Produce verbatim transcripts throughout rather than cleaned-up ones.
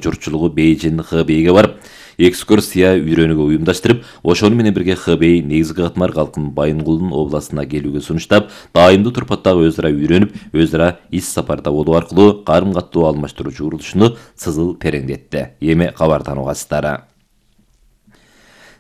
журтчулугу Бейжин Хэбейге барып, экскурсия үйрөнүүгө уюмдаштырып, ошону менен бирге Хэбей негизги катмар калкын Байынгулдун областына келүүгө сунуштап, дайымдуу турпаттагы өз ара үйрөнүп, өз ара ис сапарда болуу аркылуу карым каттуу алмаштыруучу урулушуну сызыл тереңдетти. Эми кабардан угасыздар.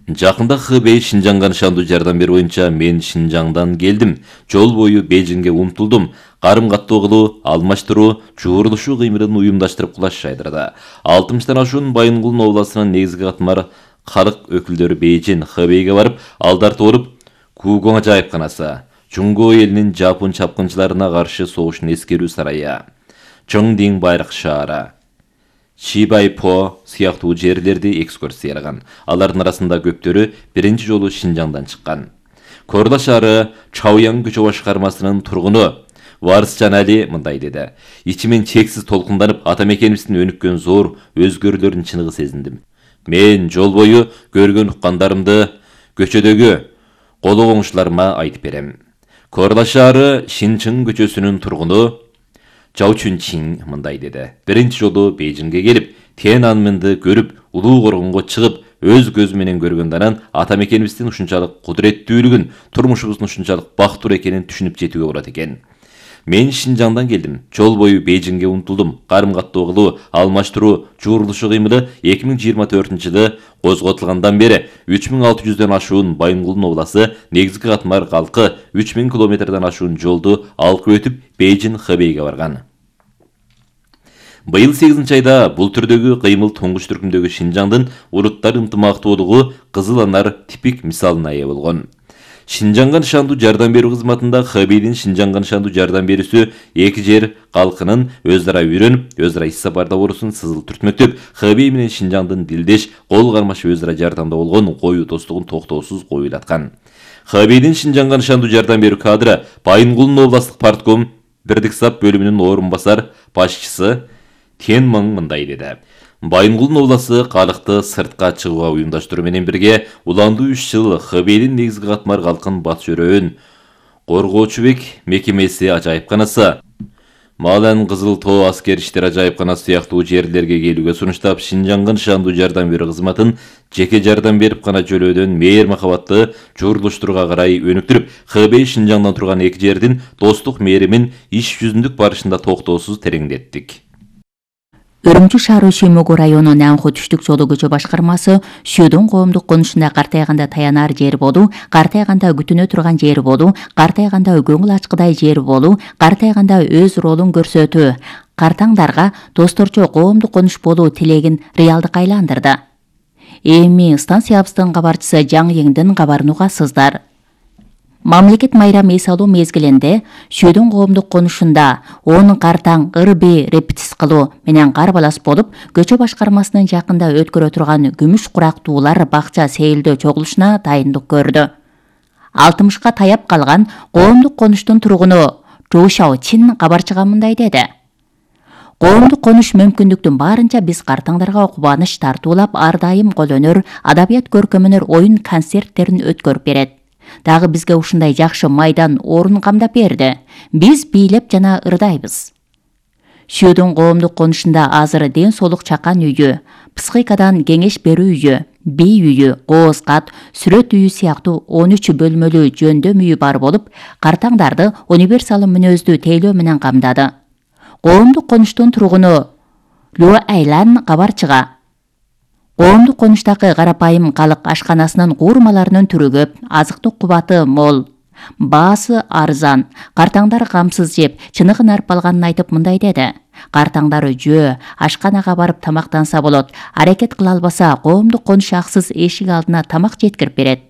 Жакында Хэбей Шинжаңга нышандуу жардам берүү боюнча мен Шинжаңдан келдим. Жол бою Бейжиңге умтулдум. Карым каттуу кылуу, алмаштыруу, чуурулушуу кыймылын уюмдаштырып кулаш жайдырды. алтымыштан ашуун Байынгулдун областынын негизги катмар калк өкүлдөрү Бейжин Хэбейге барып, алдарты болуп, Кугоң ажайыпканасы, Чуңго элинин Жапон чапкынчыларына каршы согушун эскерүү сарайы, Чоңдиң байрак шаары, Чибайпо сыяктуу жерлерди экскурсиялаган. Алардын арасында көптөрү биринчи жолу Шинжаңдан чыккан. Корла шаары Чаоян көчө башкармасынын тургуну Варысжан Али мындай деди. Ичимен чексиз толкунданып, ата мекенибиздин өнүккөн зор өзгөрүүлөрүн чыныгы сезиндим. Мен жол бою көргөн уккандарымды көчөдөгү кологоңушларыма айтып берем. Корла шаары Шинчың көчөсүнүн тургуну Чаучунчин мындай деди. Биринчи жолу Бейжиңге келип, Тяньаньмэнди көрүп, улуу коргонго чыгып, өз көзү менен көргөндөн ата мекенибиздин ушунчалык кудуреттүүлүгүн, турмушубуздун ушунчалык бактуур экенин түшүнүп жетүүгө болот экен. Мен Шинжаңдан келдим. Жол бою Бейжиңге умтулдум. Карым каттуу кылуу, алмаштыруу, чуурулушуу кыймылы эки миң жыйырма төртүнчү жылы козготулгандан бери үч миң алты жүздөн ашуун Байынгулдун обласы негизги катмар калкы үч миң километрден ашуун жолду алкып өтүп Бейжин Хэбейге барган. Быйыл сегизинчи айда бул түрдөгү кыймыл туңгуч түркүмдөгү Шинжаңдын уруттар ынтымактуулугу Кызыл Анар типик мисалына ээ болгон. Шинжаңга нышандуу жардам берүү кызматында Хэбейдин Шинжаңга нышандуу жардам берүүсү эки жер калкынын өз ара үйрөнүп, өз ара ис сапарда болуусун сызыл түртмөктөп, Хэбей менен Шинжаңдын дилдеш, кол кармаш өз ара жардамда болгон коюу достугун токтоосуз коюлаткан. Хэбейдин Шинжаңга нышандуу жардам берүү кадры Байынгулдун областтык партком бирдик сап бөлүмүнүн орун басар башчысы Тяньмэн мындай деди. Байынгулдун обласы калыкты сыртка чыгууга уюмдаштыруу менен бирге уландуу үч жыл Хэбейдин негизги катмар калкын батыш өрөөнүн коргоочубек мекемеси ажайыпканасы, Малан Кызыл Тоо аскер иштер ажайыпканасы сыяктуу жерлерге келүүгө сунуштап, Шинжаңга нышандуу жардам берүү кызматын жеке жардам берип гана жөлөөдөн мээр махабатты чуурулуштурууга карай өнүктүрүп, Хэбей Шинжаңдан турган эки жердин достук мээримин иш жүзүндүк барышында токтоосуз тереңдеттик. Үрүмчү шаары Шүймөгү району Нанху түштүк жолу көчө башкармасы Шүйдүн коомдук конушунда картайганда таянар жер болуу, картайганда күтүнө турган жер болуу, картайганда көңүл ачкыдай жер болуу, картайганда өз ролун көрсөтүү, картаңдарга досторчо коомдук конуш болуу тилегин реалдыкка айландырды. Эми станциябыздын кабарчысы Жаң Еңдин кабарын угасыздар. Мамлекет майрам эс алуу мезгилинде Шүйдүн коомдук конушунда он картаң ырби репетис кылуу менен карбалас болуп, көчө башкармасынын жакында өткөрө турган күмүш курактуулар бакча сейилдөө чогулушуна дайындык көрдү. алтымышка таяп калган коомдук конуштун тургуну Чжоу Шаочин кабарчыга мындай деди. Коомдук конуш мүмкүндүктүн баарынча биз картаңдарга кубаныч тартуулап, ар дайым кол өнөр, адабият көркөм өнөр оюн концерттерин өткөрүп берет. Дагы бизге ушундай жакшы майдан орун камдап берди. Биз бийлеп жана ырдайбыз. Шүйдүн коомдук конушунда азыр ден соолук чакан үйү, психикадан кеңеш берүү үйү, бий үйү, кооз кат, сүрөт үйү сыяктуу он үч бөлмөлүү жөндөм үйү бар болуп, картаңдарды универсал мүнөздүү тейлөө менен камдады. Коомдук конуштун тургуну Ло Айлан кабарчыга коомдук конуштагы карапайым калык ашканасынын куурмаларынын түрү көп, азыктык кубаты мол, баасы арзан, картаңдар камсыз жеп, чыныгын арпалганын айтып мындай деди. Картаңдары жөө, ашканага барып тамактанса болот, аракет кыла албаса коомдук конуш аксыз эшик алдына тамак жеткирип берет.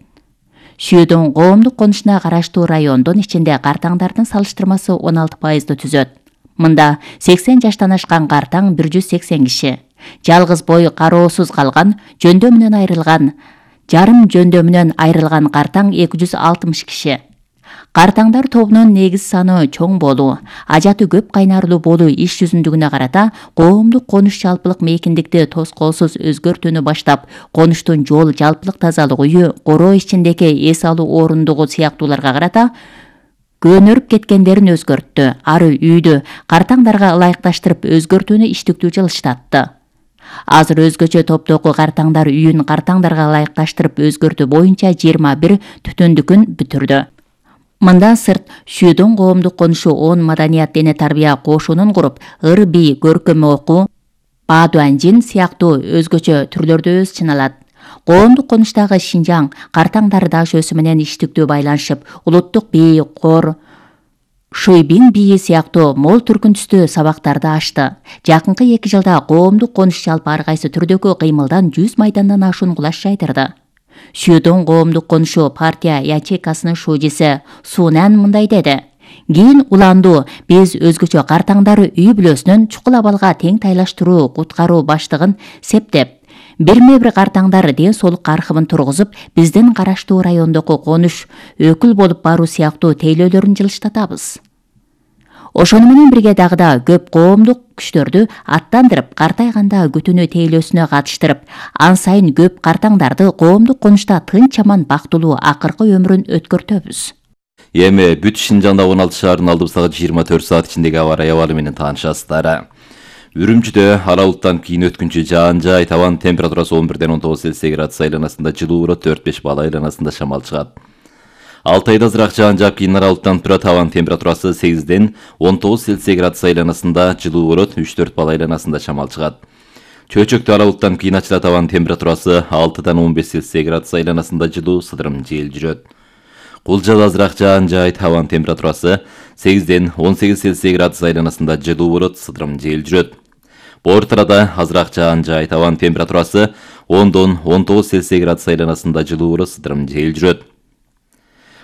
Шүйдүн коомдук конушуна караштуу райондун ичинде картаңдардын салыштырмасы он алты пайызды түзөт. Мында сексен жаштан ашкан картаң бир жүз сексен киши. Жалгыз бой кароосуз калган, жөндөмүнөн айрылган, жарым жөндөмүнөн айрылган картаң эки жүз алтымыш киши. Картаңдар тобунун негиз саны чоң болуу, ажаты көп кайнарлуу болуу иш жүзүндүгүнө карата коомдук конуш жалпылык мейкиндикти тоскоолсуз өзгөртүүнү баштап, конуштун жол жалпылык тазалык үйү, короо ичиндеги эс алуу орундугу сыяктууларга карата көнөрүп кеткендерин өзгөрттү. Ары үйдү картаңдарга ылайыкташтырып өзгөртүүнү иштиктүү жылыштатты. Азыр өзгөчө топтогу картаңдар үйүн картаңдарга ылайыкташтырып өзгөртүү боюнча жыйырма бир түтүндүкүн бүтүрдү. Мындан сырт Шүйдөн коомдук конушу он маданият дене тарбия кошунун куруп, ыр би, көркөм окуу, баадуанжин сыяктуу өзгөчө түрлөрдө өз чыналат. Коомдук конуштагы Шинжаң картаңдар даш өсү менен иштиктүү байланышып, улуттук бий, кор, Шуйбин бийи сыяктуу мол түркүн түстүү сабактарды ачты. Жакынкы эки жылда коомдук конуш жалпы ар кайсы түрдөгү кыймылдан жүз майдандан ашуун кулаш жайдырды. Шүйдөн коомдук конушу партия ячейкасынын шужиси Сунан мындай деди. Кийин уланду биз өзгөчө картаңдар үй бүлөсүнөн чукул абалга тең тайлаштыруу куткаруу баштыгын септеп, бирме бир картаңдар ден соолук архивин тургузуп, биздин караштуу райондогу конуш өкүл болуп баруу сыяктуу тейлөөлөрүн жылыштатабыз. Ошону менен бирге дагы да көп коомдук күчтөрдү аттандырып, картайганда күтүнүү тейлөөсүнө катыштырып, ан сайын көп картаңдарды коомдук конушта тынч аман бактылуу акыркы өмүрүн өткөртөбүз. Эми бүт Шинжаңда он алты шаардын алдыбыздагы жыйырма төрт саат ичиндеги аба ырайы абалы менен таанышасыздар. Үрүмчүдө аралыктан кийин өткүнчү жаан жай, табан температурасы он бирден он тогуз Цельсий градус айланасында, жылуу болот төрт беш балл айланасында шамал чыгат. алты айда азыраак жаан жаап, кийин аралыктан турат, табан температурасы сегизден он тогуз Цельсий градус айланасында, жылуу болот үч төрт балл айланасында шамал чыгат. Чөйчөктө аралыктан кийин ачылат, табан температурасы алтыдан он беш Цельсий градус айланасында, жылуу сыдырым жел жүрөт. Кулжада азыраак жаан жай, табан температурасы сегизден он сегиз Цельсий градус айланасында, жылуу болот, сыдырым жел жүрөт. Бортарада азыраак жаан жай, табан температурасы ондон он тогуз Цельсий градус айланасында, жылуу болот, сыдырым жел жүрөт.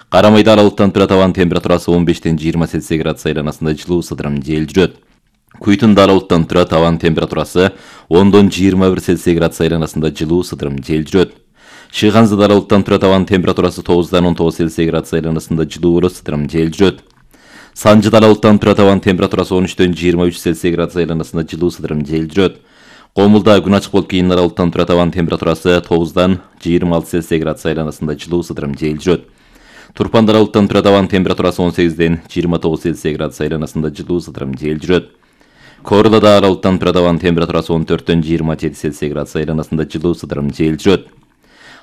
Карамайда аралыктан турат, табан температурасы он бештен жыйырма Цельсий градус айланасында, жылуу сыдырым жел жүрөт. Куйтунда аралыктан турат, табан температурасы ондон жыйырма бир Цельсий градус айланасында, жылуу сыдырым жел жүрөт. Шыйганзада аралыктан турат, табан температурасы тогуздан он тогуз Цельсий градус айланасында, жылуу болот, сыдырым жел жүрөт. Санжыда аралыктан турат, табан температурасы он үчтөн жыйырма үч Цельсий градус айланасында, жылуу сыдырым жел жүрөт. Комулда күн ачык болуп, кийин аралыктан турат, табан температурасы тогуздан жыйырма алты Цельсий градус айланасында, жылуу сыдырым жел жүрөт. Турпанда аралыктан турат, табан температурасы он сегизден жыйырма тогуз Цельсий градус айланасында, жылуу сыдырым жел жүрөт. Корлада аралыктан турат, табан температурасы он төрттөн жыйырма жети Цельсий градус айланасында, жылуу сыдырым жел жүрөт.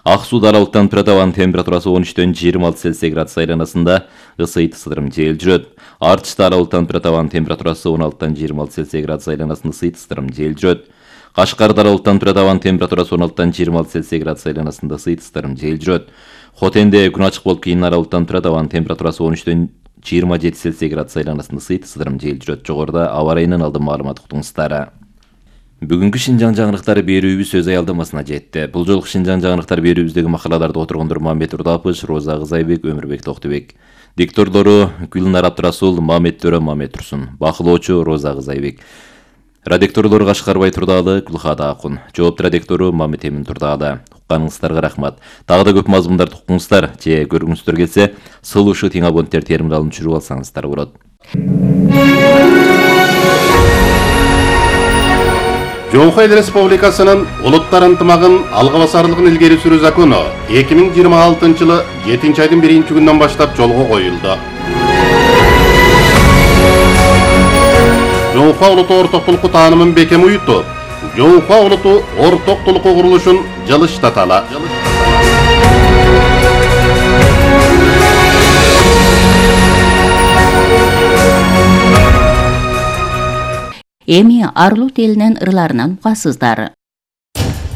Ак сууда аралыктан турат, табан температурасы он үчтөн жыйырма алты Цельсий градус айланасында, ысыйт сыдырым жел жүрөт. Арчта аралыктан турат, табан температурасы он алтыдан жыйырма алты Цельсий градус айланасында, ысыйт сыдырым жел жүрөт. Кашкарда аралыктан турат, табан температурасы он алтыдан жыйырма алты Цельсий градус айланасында, ысыйт сыдырым жел жүрөт. Хотенде күн ачык болуп, кийин аралыктан турат, табан температурасы он үчтөн жыйырма жети Цельсий градус айланасында, ысыйт сыдырым жел жүрөт. Жогоруда аба ырайынан алдым маалымат уктуңуздар. Бүгүнкү Шинжаң жаңырыктары берүүбүз өз аялдамасына жетти. Бул жолку Шинжаң жаңырыктары берүүбүздөгү макалаларды отургондор Мамет Урдапыч, Роза Кызайбек, Өмүрбек Токтубек. Дикторлору Гүлнар Абдрасул, Мамет Төрө, Мамет Турсун. Бакылоочу Роза Кызайбек. Радикторлору Кашкарбай Турдаалы, Гүлхада Акун. Жоопту радиктору Мамет Эмин Турдаалы. Укканыңыздарга рахмат. Дагы да көп мазмундарды уккуңуздар же көргүңүздөр келсе, сылушу тең абоненттер терминалын түшүрүп алсаңыздар болот. Жоңхой Эл Республикасынын улуттар ынтымагын алга басарлыгын илгери сүрүү закону эки миң жыйырма алтынчы жылы жетинчи айдын биринчи күнүнөн баштап жолго коюлду. Жоңхой улуту ортоктулукку таанымын бекем уютуп, Жоңхой улуту ортоктулукку курулушун жылыштаталы. Эми Арлут элинин ырларынан угасыздар.